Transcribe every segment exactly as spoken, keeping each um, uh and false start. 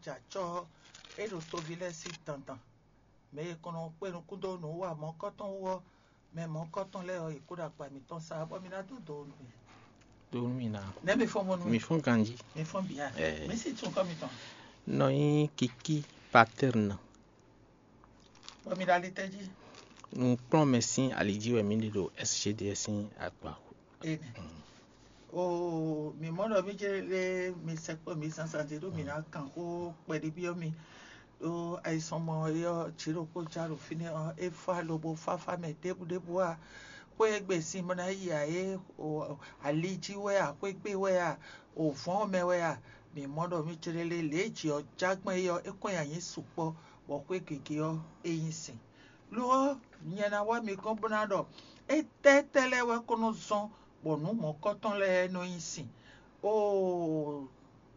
Jɛ acɔ́ ɔ́, é ɖo toví lɛ́ɛ sín dandan. Mɛ e kɔn nɔ kpé nukún dó nǔ wa mɔ̌kɔ́tɔn wú ɔ́, mɛ mɔ̌kɔ́tɔn lɛ́ɛ ɔ́, yě kó ɖo agba mǐtɔn sa, bɔ mi ná dó do nú mì. Dó nú mì ná. Nɛ̌ mi fɔ́n mɔ nú Mi mì? Fɔ́n ganjí. Mi fɔ́n bǐ a? Ɛɛ. Mi sí tún kɔ́ mitɔn. Nɔ nyí Kiki Paterne. Bɔ mi ɖo ali tɛ́ jí? Nǔkplɔ́nmɛ sín ali jí wɛ mǐ ɖe ɖo S G D S sín akpa. Ene. Oo, mǐ mɔ ɖɔ mí jɛ lé mi sɛkpɔ́ mi zǎnzǎn ɖé ɖó mǐ ná kan xó kpɛɖé byɔ́ mi. Ɖó ayisɔnmɔ e ɔ́, jǐ ɖokpó já ɖo fínɛ́ ɔ́, é fá lobo fáfá mɛ ɖěbǔ ɖěbǔ a? Xwé e gbe sin bó ná yi ǎ é, o, ali jí wɛ a, xwé gbe wɛ a, o, vɔ̌n mɛ wɛ a? Mǐ mɔ ɖɔ mí jlé lé lě e jǐ ɔ́ já gbɔn é ɔ́, é kɔn nyi ayǐ sukpɔ́, bɔ xwé gěgé ɔ́, é nyí sin. Lo ɔ́, nyɛ ná wá mi gɔ́n bó ná ɖɔ étɛ́ tɛ́ lɛ́ɛ wɛ ko nɔ zɔ́n bɔ nǔ mɔ̌kɔ́tɔn lɛ́ɛ nɔ nyi sin? Oo,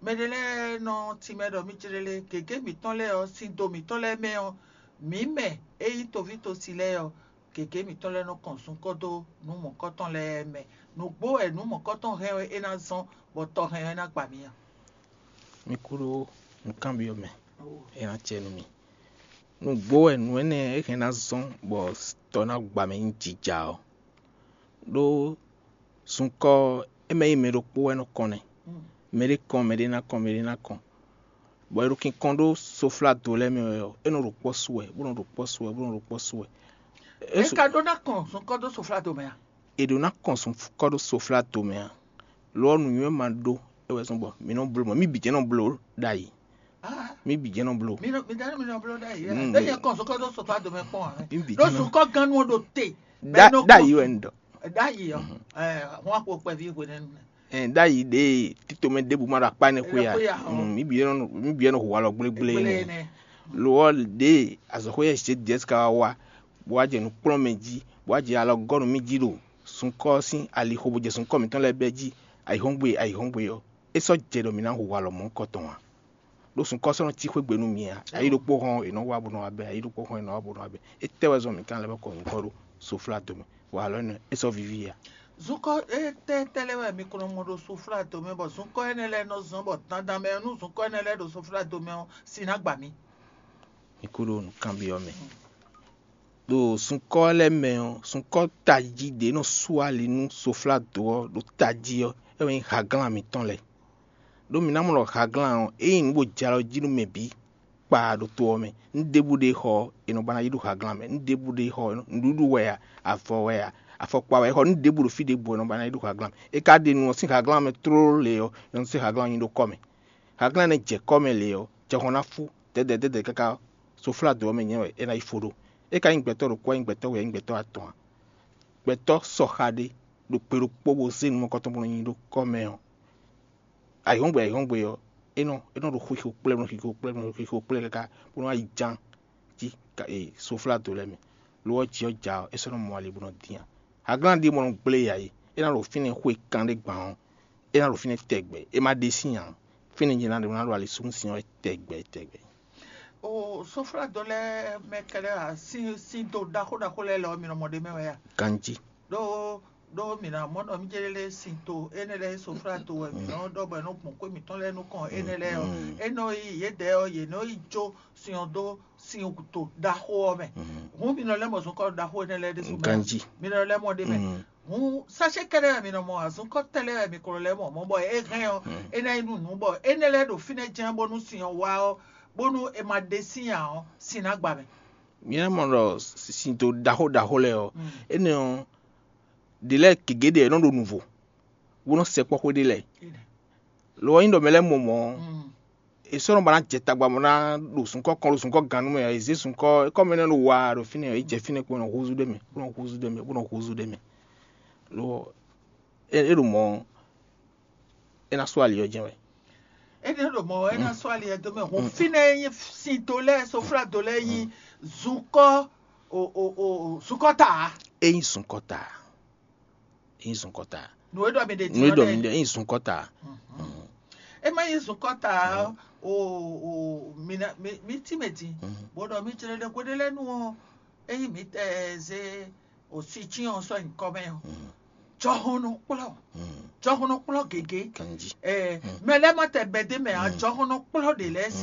mɛ ɖé lɛ́ɛ nɔ timɛ ɖɔ mí céɖélé gěgé mǐtɔn lɛ́ɛ ɔ́, sín do mǐtɔn lɛ́ɛ mɛ ɔ́, mǐ mɛ e nyí toví tosi lɛ́ɛ ɔ́, gěgé mǐtɔn lɛ́ɛ nɔ kɔn zunkɔ́ dó nǔ mɔ̌kɔ́tɔn lɛ́ɛ mɛ. Nǔgbó wɛ nǔ mɔ̌kɔ́tɔn hɛn wɛ é ná zɔ́n, bɔ tɔ hɛn wɛ é ná gba mǐ a? Mi kú ɖó nǔkanbyɔ́ mɛ, é ná acɛ nú mi. Nǔgbó wɛ nǔ énɛ́ é hɛn ná zɔ́n bɔ tɔ ná gba mɛ nyí jija ɔ́. Ɖó zunkɔ́ ɔ́, é mɛ nyí mɛ ɖokpó wɛ nɔ kɔn nɛ́. Mɛɖé kɔn, mɛɖé ná kɔn, mɛɖé ná kɔn. Bɔ è ɖo kinkɔn ɖó soflado lɛ́ɛ mɛ wɛ ɔ́, é nɔ ɖo kpɔ́ su wɛ, bó nɔ ɖo kpɔ́ su wɛ, bó nɔ ɖo kpɔ́ su wɛ. É su- ka ɖó ná kɔn zunkɔ́ dó soflado mɛ a? È ɖǒ ná kɔn zunkɔ́ ɖó soflado mɛ a? Lo ɔ́, nǔnywɛ́ ma ɖó é wɛ zɔ́n bɔ mǐ nɔ bló mɔ̌, mǐ bǐ jɛ́n nɔ bló ɖ'ayǐ. Mǐ bǐ jɛ́n nɔ bló. Mi nɔ mi dá mi nɔ bló ɖ'ayǐ. Mm, Ɖé nyɛ kɔn sɔkɔ dó sɔkɔ dome kpɔn ǎ. Mǐ bǐ Ɖó jɛ́n nɔ. Sukɔ gannú ɔ ɖo te. Ɖ'ayǐ wɛ un ɖɔ. Ɖ'ayǐ ɔ. Ɛ, hun akpo kpɛví hwenɛ́nu nɛ. Ɛ, ɖ'ayǐ ɖe títomɛ ɖěbǔ ma ɖo akpá énɛ́ xwé a? Xwé a, ɔ. Mm, mǐ bǐ nɔ mǐ bǐ nɔ hu alɔ gblégblé Gblé nɛ. Nɛ. Lo ɔ́, ɖě azɔ̌xwé yɛ zě Jɛsika wá wá, bó wá jɛ nǔ kplɔ́n mɛ jí, bó wá jɛ alɔ gɔ́ nú mì jí ɖo sunkɔ́ sín alixo, bó jɛ sunkɔ́ mǐtɔn lɛ́ɛ bɛ́ jí, ayǐhɔ́ngbe ayǐhɔ́ngbe ɔ́, é sɔ́ jɛ ɖɔ mǐ ná hu alɔ mɔ̌hunkɔtɔn ǎ. Ɖó sunkɔ́ sɔ́ nɔ cí xwé gbe nú mì ǎ. Ayǐ ɖokpó hɔn è nɔ wá bó nɔ wá bɛ́, ayǐ ɖokpó hɔn è nɔ wá bó nɔ wá bɛ́. Étɛ́ wɛ zɔn mǐ ka lɛ́ vɔ́ kɔ nyǐkɔ ɖó soflá dome, bɔ alɔ énɛ́ é sɔ́ víví ǎ. Zunkɔ́ étɛ́ tɛ́ lɛ́ɛ wɛ mi ko nɔ mɔ ɖo soflá dome, bɔ zunkɔ́ énɛ́ lɛ́ɛ nɔ zɔ́n bɔ dandan mɛ nú zunkɔ́ énɛ́ lɛ́ɛ ɖo soflá dome ɔ́, sin ná gba mi. Mi kú ɖo nǔkanbyɔ́ mɛ. Ɖo sunkɔ́ lɛ́ɛ mɛ ɔ́, sunkɔ́ tají ɖě nɔ sú ali nú soflado ɔ́ ɖo tají ɔ́, é wɛ nyí haglán mǐtɔn lɛ́ɛ. Ɖó mǐ ná mɔ ɖɔ haglán ɔ́, é nyí nǔ bó jɛ alɔ jí nú mɛ bǐ kpaa ɖo to ɔ́ mɛ. Nǔ ɖěbǔ ɖé xɔ ɔ́, è nɔ ba ná yí ɖo haglán mɛ. Nǔ ɖěbǔ ɖé xɔ ɔ́, nǔɖuɖu wɛ a, avɔ wɛ a, afɔkpa wɛ, é xɔ nǔ ɖěbǔ ɖo fí ɖěbǔ ɔ́, è nɔ ba ná yí ɖo haglán mɛ. É ka ɖe nu ɔ́, sín haglán mɛ tlóló lě ɔ́, è nɔ zé haglán ɔ́ nyi ɖó kɔ́ mɛ. Haglán énɛ́ jɛ kɔ́ mɛ lě ɔ́, jɔhɔn ná fú dɛ̌dɛ̌ dɛ̌dɛ̌ káká soflado ɔ́ mɛ nyɛ wɛ é ná yi fo ɖó. É ka nyí gbɛtɔ́ ɖokpó wɛ nyí gbɛtɔ́ we wɛ nyí gbɛtɔ́ atɔn ǎ. Gbɛtɔ́ sɔxa ɖé ɖo kpe ɖokpó bó zé nǔ mɔ̌kɔtɔn bó nɔ nyi ɖó kɔ́ mɛ ɔ́, ayǐhɔ́ngbe ayǐhɔ́ngbe ɔ́, é nɔ é nɔ ɖo xixo kplɛ́, bó nɔ xixo kplɛ́, bó nɔ xixo kplɛ́ káká bó nɔ wá yi ján jí soflado lɛ́ɛ mɛ. Lo ɔ́, jǐ ɔ́ ja ɔ́, é sɔ́ nɔ mɔ ali bó nɔ dín ǎ. Haglán ɖíe mɔ nɔ gblé yǎ é, é ná ɖo fínɛ́ xwe kan ɖé gban ɔ́, é ná ɖo fínɛ́ tɛgbɛ, é má ɖe sín ǎ. Fínɛ́ jɛ́n ná ɖe ná ɖo ali súnnu sin ɔ́ wɛ tɛgbɛ tɛgbɛ. O soflado lɛ́ɛ mɛ kɛlɛ a, sin sin do ɖaxó ɖaxó lɛ́ɛ lɛ ɔ́, mi nɔ mɔ ɖ'é mɛ wɛ a? Ganjí. Ɖó ɖó mǐ ná mɔ ɖɔ mí jɛ lé sin to énɛ́ lɛ́ɛ soflado wɛ mǐ nɔ ɖɔ bɔ è nɔ gbɔn xwé mǐtɔn lɛ́ɛ nukɔn énɛ́ lɛ́ɛ ɔ́, é nɔ yi yědɛɛ ɔ́, yě nɔ yi jó sin ɔ́ dó sin to ɖaxó ɔ́ mɛ. Hǔn mi nɔ lɛ́ mɔ zunkɔ́ ɖaxó énɛ́ lɛ́ɛ ɖésú mɛ a? Ganjí. Mi nɔ lɛ́ mɔ ɖ'é mɛ. Hǔn sásé kɛ́ɖɛ́ wɛ mi nɔ mɔ a? Zunkɔ́ tɛ́ lɛ́ɛ wɛ mi ko nɔ lɛ́ mɔ mɔ̌ bɔ é hɛn ɔ́, é ná nyí nú nǔ bɔ énɛ́ lɛ́ɛ ɖo fínɛ́ jɛ́n bónú sin ɔ́ wá ɔ́, bónú è ma ɖe sín ǎ ɔ́, sin ná gba mɛ. Mi ná mɔ ɖɔ sin to ɖaxó ɖaxó lɛ́ɛ ɔ́, énɛ́ ɔ́, ɖě lɛ́ɛ gěgé ɖe è nɔ ɖo nǔvo, bó nɔ sɛkpɔ́ xwé ɖé lɛ́ɛ. Lo ɔ́, nyí ɖɔ mɛ lɛ́ɛ mɔ mɔ̌ ɔ́, è sɔ́ nɔ ba ná jɛ tagba bó ná ɖo zunkɔ́ kɔn ɖo zunkɔ́ gannú mɛ ǎ, è zě zunkɔ́ kɔ́mɛ nɛ́ ɖo wa ɖo fínɛ́ ɔ́, é jɛ fínɛ́ kpó nɔ húzú ɖ'é mɛ, bó nɔ húzú ɖ'é mɛ, bó nɔ húzú ɖ'é mɛ. Lo ɔ́, é é ɖo mɔ̌ ɔ́, é ná sú ali ɔ́ jɛ́n wɛ. Énɛ́ ɖo mɔ̌ wɛ é ná sú ali ɛ dó mɛ. Hǔn fínɛ́ e nyí sin do lɛ́ɛ, soflado lɛ́ɛ nyí zunkɔ́ o o o zunkɔ́ ta ǎ. É nyí zunkɔ́ ta. É nyí zunkɔ́ ta. Nǔ e ɖɔ mi ɖe Nǔ e ɖɔ mi ɖe é nyí zunkɔ́ ta. É má nyí zunkɔ́ ta ɔ́, o o mi ná mi mi tí mɛ din. Bó ɖɔ mi jlɛ́ ɖe hweɖé lɛ́ɛ nu ɔ́, é nyí mi ɛ zé o si cyɔn sɔ́ nyǐkɔ mɛ ɔ́, jɔhɔn nɔ kplɔ́, jɔhɔn nɔ kplɔ́ gěgé. Ɛ, mɛ lɛ́ɛ ma tɛ bɛdé mɛ ǎ, jɔhɔn nɔ kplɔ́ ɖě lɛ́ɛ sín.